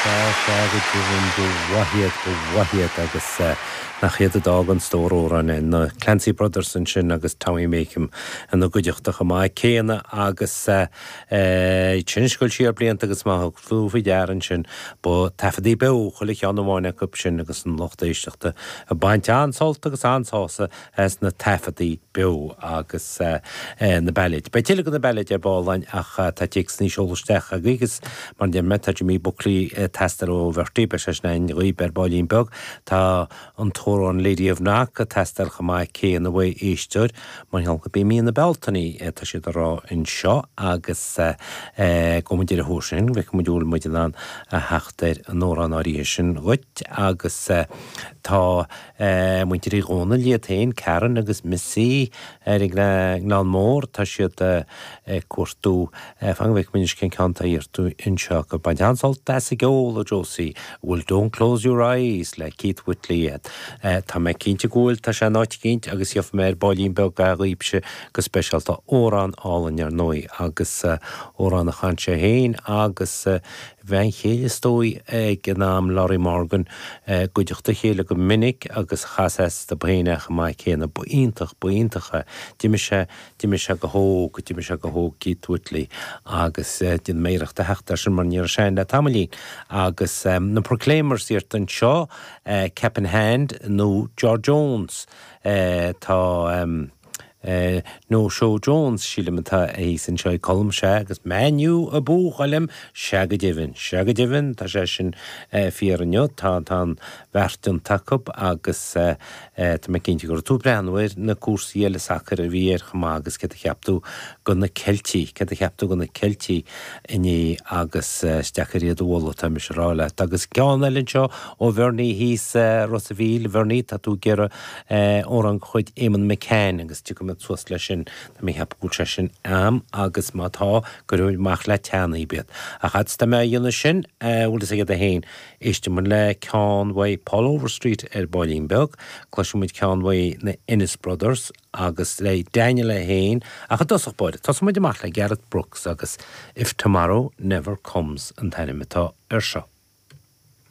Sea, sea, go deimhin, ba mhaith iad, ba mhaith iad agus nach iad a d'fhág an stór amhrán é. Na Clancy Brothers ansin agus Tommy Makem ina gcuideachta chomh maith céanna agus iad sin ag dul siar blianta agus má thug tú faoi deara ansin, ba taifeadtaí beo chuile cheann amháin acu sin agus an lucht éisteachta ag baint an-sult agus an-sásamh as na taifeadtaí beo agus na bailéid. Beidh tuilleadh de na bailéid ar ball againn ach tá téacsanna seolta isteach agaibh agus mar a deir mé tá Jimmy Buckley ag teastáil ó Bhertie, beidh sé sin againn dhaoib ar baillín beag. Tá an t-amhrán Lady of Knock ag teastáil chomh maith céanna uaidh éisteoir mar gheall gurb í mí na Bealtaine atá siad a rá anseo agus gabhfaidh muid ar a thóir sin, go bhfeicfidh muid an bhfuil muid in ann a theacht ar an amhrán áirithe sin dhuit agus tá Muintir Uí Dhónaill iad féin, Karen agus Missy ar an nGleann Mór, tá siad ag cuartú, fan go bhfeicfidh muid anois cén ceann atá iarrta anseo acu. Baint an-sult as an gceol, a Josie, an bhfuil Don't Close Your Eyes le Keith Whitley agat? Tá mé cinnte go bhfuil, tá sé in áit eicínt agus gheobhaidh mé ar baillín beag é dhaoibhse go speisialta. Amhrán álainn ar ndóigh agus amhrán a chan sé féin agus bhean chéile is dóigh ag an am, Lorrie Morgan, i gcuideachta a chéile go minic agus chas astu féin é chomh maith céanna. Ba iontach, ba iontach é. D'imigh sé, d'imigh sé go hóg, d'imigh sé go hóg Keith Whitley agus déanfaidh mé iarracht a theacht air sin mar ní raibh sé ann le tamaillín. Agus na Proclaimers iarrta anseo, Cap in Hand nó George Jones, tá. No Show Jones, sílim atá thíos anseo ag Colm, sea, agus Man U abú, a Choilm, sea go deimhin, sea go deimhin, tá sé sin fíor inniu, tá, tá an bheart déanta acu agus tá mé cinnte go raibh tú ag breathnú ar na cúrsaí eile sacair a bhí air chomh maith agus céard a cheap tú go na Ceiltigh, céard a cheap tú go na Ceiltigh inné agus is deacair iad a mholadh, tá mise a rá leat. Agus ceann eile anseo ó Bhernie thíos Ros a' Mhíl, Bhernie, tá tú ag iarraidh amhrán de chuid Éamonn McCann agus tiocfaidh muid suas leis sin, tá mé ag ceapadh go bhfuil sé sin a'm agus má tá, cuirfidh muid amach le teann iad. Ach fhad is tá mé á dhéanamh sin, bhfuil fhios agat féin, éistfidh muid le ceann uaidh Paul Overstreet ar baillín beag, cloisfidh muid ceann uaidh na Ennis Brothers agus le Daniel é féin, ach i dtosach báire, tosóidh muid amach le Garth Brooks agus If Tomorrow Never Comes an t-ainm atá air seo.